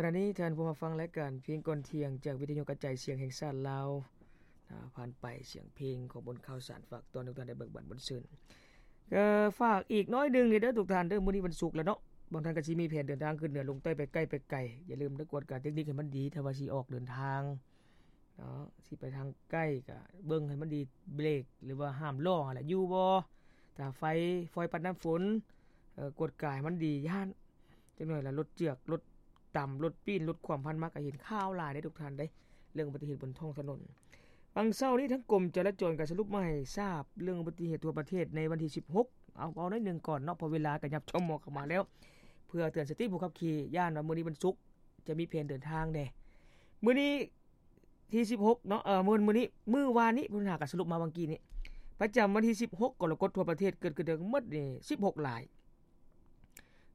ຂະນະນີ້ທ່ານຜູ້ມາຟັງລາຍການເພງກ່ອນທ່ຽງ ຈາກວິທະຍຸກະຈາຍສຽງແຫ່ງຊາດລາວ ອາ ຜ່ານໄປສຽງເພງຂອງບົນຂ່າວສານ ຝາກຕອນທຸກທ່ານໄດ້ເບີກບານບົນຊື່ນ. ກໍຝາກອີກໜ້ອຍໜຶ່ງນີ້ເດີທຸກທ່ານເດີ ມື້ນີ້ວັນສຸກແລ້ວເນາະ, ບາງທ່ານກໍຊິມີແຜນເດີນທາງຂຶ້ນເໜືອລົງໃຕ້ ໄປໃກ້ໄປໄກ, ຢ່າລືມເດີກວດກາເຕັກນິກໃຫ້ມັນດີ ຖ້າວ່າຊິອອກເດີນທາງ ເນາະ ຊິໄປທາງໃກ້ກະເບິ່ງໃຫ້ມັນດີ ເບຣກ ຫຼືວ່າຫ້າມລໍ້ຫັ້ນແຫຼະ ຢູ່ບໍ່? ຖ້າໄຟຟອຍປັດນ້ຳຝົນ ເອີ ກວດກາໃຫ້ມັນດີ ຢ້ານຈັກໜ້ອຍລະລົດເຈື່ອກ ລົດຕຳ ລົດປີ້ນ ລົດຂວ້ຳຜ່ານມາ ກະເຫັນຂ່າວຫຼາຍເດ້ທຸກທ່ານເດ້ ເລື່ອງອຸບັດຕິເຫດບົນທ້ອງຖະໜົນ. ຫວ່າງເຊົ້ານີ້ທາງກົມຈະລາຈອນກະສະຫຼຸບມາໃຫ້ຊາບ ເລື່ອງອຸບັດຕິເຫດທົ່ວປະເທດໃນວັນທີສິບຫົກ ເອົາ ເວົ້າໜ້ອຍໜຶ່ງກ່ອນເນາະ ເພາະເວລາກະຫຍັບຊົ່ວໂມງເຂົ້າມາແລ້ວ ເພື່ອເຕືອນສະຕິຜູ້ຂັບຂີ່ ຢ້ານວ່າມື້ນີ້ວັນສຸກ ຈະມີແຜນເດີນທາງແດ່. ມື້ນີ້ທີສິບຫົກເນາະ ເອີ ມື້ ມື້ນີ້ ມື້ວານນີ້ ເພິ່ນຫາກະສະຫຼຸບມາຫວ່າງກີ້ນີ້ ປະຈຳວັນທີສິບຫົກ ກໍລະກົດ ທົ່ວປະເທດເກີດຂຶ້ນທັງໝົດນີ້ສິບຫົກລາຍ,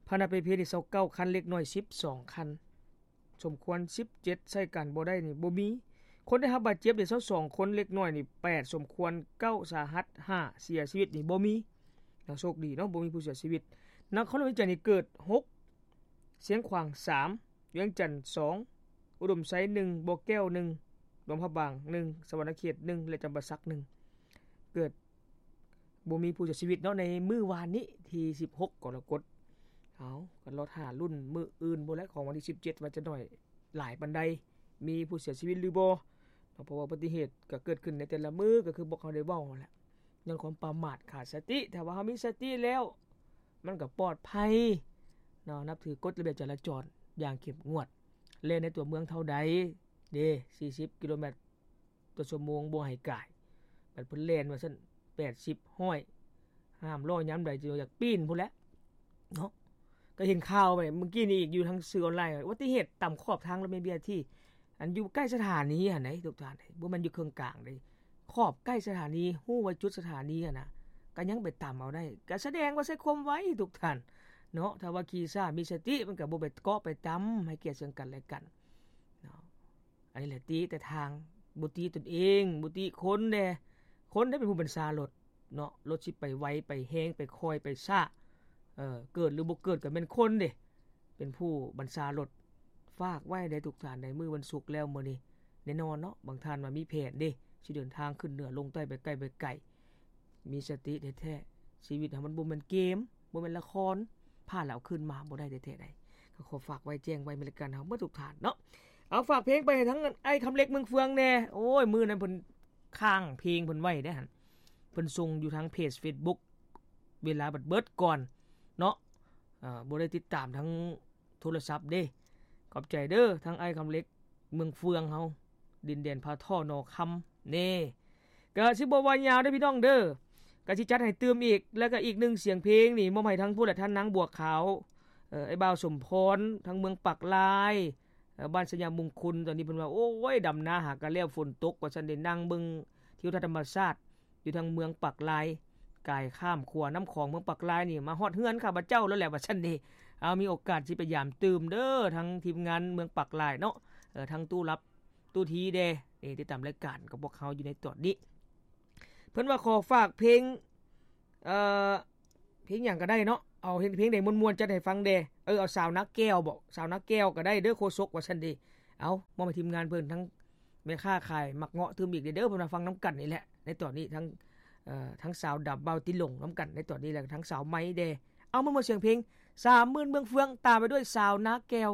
ພາຍໃນປະເພດນີ້ຊາວເກົ້າຄັນ, ເລັກນ້ອຍສິບສອງຄັນ, ສົມຄວນສິບເຈັດ, ໃຊ້ການບໍ່ໄດ້ນີ້ບໍ່ມີ. ຄົນໄດ້ຮັບບາດເຈັບນີ້ຊາວສອງຄົນ, ເລັກນ້ອຍນີ້ແປດ, ສົມຄວນເກົ້າ, ສາຫັດຫ້າ, ເສຍຊີວິດນີ້ບໍ່ມີ. ຍັງໂຊກດີເນາະ ບໍ່ມີຜູ້ເສຍຊີວິດ. ນະຄອນຫຼວງວຽງຈັນນີ້ເກີດຫົກ, ຊຽງຂວາງສາມ, ວຽງຈັນສອງ, ອຸດົມໄຊໜຶ່ງ, ບໍ່ແກ້ວໜຶ່ງ, ຫຼວງພະບາງໜຶ່ງ, ສະຫວັນນະເຂດໜຶ່ງ ແລະ ຈຳປາສັກໜຶ່ງ. ເກີດບໍ່ມີຜູ້ເສຍຊີວິດເນາະ ໃນມື້ວານນີ້ທີສິບຫົກກໍລະກົດ. ເອົາ ກໍລໍຖ້າລຸ້ນມື້ອື່ນພຸ້ນແຫຼະ ຂອງວັນທີສິບເຈັດ ວ່າຈະໜ້ອຍຫຼາຍປານໃດ ມີຜູ້ເສຍຊີວິດຫຼືບໍ່ເນາະ. ເພາະວ່າອຸບັດຕິເຫດກໍເກີດຂຶ້ນໃນແຕ່ລະມື້ ກໍຄືພວກເຮົາໄດ້ເວົ້າຫັ້ນແຫຼະ ຍ້ອນຄວາມປະໝາດຂາດສະຕິ. ຖ້າວ່າເຮົາມີສະຕິແລ້ວ ມັນກໍປອດໄພເນາະ, ນັບຖືກົດລະບຽບຈະລາຈອນຢ່າງເຂັ້ມງວດ. ແລ່ນໃນຕົວເມືອງເທົ່າໃດເດ້ ສີ່ສິບກິໂລແມັດຕໍ່ຊົ່ວໂມງ ບໍ່ໃຫ້ກາຍ, ບັດເພິ່ນແລ່ນວ່າຊັ້ນ ແປດສິບ ຮ້ອຍ ຫ້າມລໍ້ຍາມໃດ ຈົນຢາກປີ້ນພຸ້ນແຫຼະເນາະ. ກໍເຫັນຂ່າວໄປມື້ກີ້ນີ້ອີກ ຢູ່ທາງສື່ອອນລາຍ ອຸບັດຕິເຫດຕຳຂອບທາງລົດເມ ບີອາທີ ອັນຢູ່ໃກ້ສະຖານີຫັ້ນໃດ໋ທຸກທ່ານເອີຍ, ບໍ່ແມ່ນຢູ່ເຄິ່ງກາງເດ້ ຂອບໃກ້ສະຖານີ ຮູ້ວ່າຈຸດສະຖານີຫັ້ນນະ ກໍຍັງໄປຕຳເອົາໄດ້ ກໍສະແດງວ່າໃຊ້ຄວາມໄວທຸກທ່ານເນາະ. ຖ້າວ່າຂີ່ຊ້າມີສະຕິ ມັນກໍບໍ່ໄປເກາະໄປຕຳ ໃຫ້ກຽດເຊິ່ງກັນແລະກັນເນາະ. ອັນນີ້ແຫຼະຕິແຕ່ທາງ ບໍ່ຕິຕົນເອງ ບໍ່ຕິຄົນແດ່, ຄົນໄດ້ເປັນຜູ້ບັນຊາລົດເນາະ. ລົດຊິໄປໄວໄປແຮງໄປຄ່ອຍໄປຊ້າ ເອີ ເກີດຫຼືບໍ່ເກີດກໍແມ່ນຄົນເດ້ ເປັນຜູ້ບັນຊາລົດ. ຝາກໄວ້ເດ້ທຸກທ່ານ ໃນມື້ວັນສຸກແລ້ວມື້ນີ້ ແນ່ນອນເນາະ ບາງທ່ານວ່າມີແຜນເດ້ ຊິເດີນທາງຂຶ້ນເໜືອລົງໃຕ້ ໄປໃກ້ໄປໄກ ມີສະຕິແທ້ໆ. ຊີວິດເຮົາມັນບໍ່ແມ່ນເກມ ບໍ່ແມ່ນລະຄອນ ພາດແລ້ວເອົາຄືນມາບໍ່ໄດ້ແທ້ໆໃດ. ກໍຂໍຝາກໄວ້ແຈ້ງໄວ້ແມ່ນລາຍການເຮົາໝົດທຸກທ່ານເນາະ. ເອົາ ຝາກເພງໄປໃຫ້ທັງອ້າຍຄຳເລັກເມືອງເຟືອງແດ່. ໂອ້ຍ ມື້ນັ້ນເພິ່ນຄ້າງເພງເພິ່ນໄວ້ເດ້ຫັ້ນ ເພິ່ນສົ່ງຢູ່ທາງເພຈເຟສບຸກ ເວລາບັດເບິດກ່ອນເນາະ ເອີ ບໍ່ໄດ້ຕິດຕາມທາງ ໂທລະສັບເດ້. ຂອບໃຈເດີ ທັງອ້າຍຄຳເລັກເມືອງເຟືອງເຮົາ ດິນແດນພາທໍ່ໜໍຄຳເນ. ກະຊິບໍ່ວ່າຍາວເດີພີ່ນ້ອງເດີ ກະຊິຈັດໃຫ້ຕື່ມອີກ. ແລ້ວກະອີກໜຶ່ງສຽງເພງນີ້ ມອບໃຫ້ທັງຜູ້ແລະທ່ານນາງບົວຂາວ ເອີ ອ້າຍບ່າວສົມພອນ ທັງເມືອງປາກລາຍ ເອີ ບ້ານໄຊຍະມຸງຄຸນ. ຕອນນີ້ເພິ່ນວ່າ ໂອ້ຍ ດຳນາຫາກະແລ້ວ ຝົນຕົກວ່າຊັ້ນເດ້. ນັ່ງເບິ່ງທິວທັດທຳມະຊາດ ຢູ່ທາງເມືອງປາກລາຍ ກາຍຂ້າມຂົວນ້ຳຂອງເມືອງປາກລາຍນີ້ ມາຮອດເຮືອນຂ້າພະເຈົ້າແລ້ວແຫຼະ ວ່າຊັ້ນເດ. ເອົາ ມີໂອກາດຊິໄປຢາມຕື່ມເດີ ທັງທີມງານເມືອງປາກລາຍເນາະ ເອີ ທັງຕູ້ລັບຕູ້ທີແດ່ ນີ້ ຕິດຕາມລາຍການກັບພວກເຮົາຢູ່ໃນຕອນນີ້. ເພິ່ນວ່າຂໍຝາກເພງ ເອີ ເພງຫຍັງກໍໄດ້ເນາະ ເອົາເພງໃດມ່ວນໆຈັດໃຫ້ຟັງແດ່. ເອີ ເອົາສາວນາແກ້ວບໍ ສາວນາແກ້ວກໍໄດ້ເດີ ໂຄສົກ ວ່າຊັ້ນເດ. ເອົາ ມອບໃຫ້ທີມງານເພິ່ນ ທັງ ແມ່ຄ້າຂາຍໝາກເງາະຕື່ມອີກເດີ ເພິ່ນວ່າ ຟັງນຳກັນນີ້ແຫຼະ ໃນຕອນນີ້ ທັງ ເອີ ທັງສາວດຳ ບ່າວຕິຫຼົງນຳກັນໃນຕອນນີ້ ແລະ ທັງສາວໄມ້ແດ່. ເອົາ ມາໝົດສຽງເພງ ສາມໝື່ນເມືອງເຟືອງ ຕາມໄປດ້ວຍສາວນາແກ້ວ.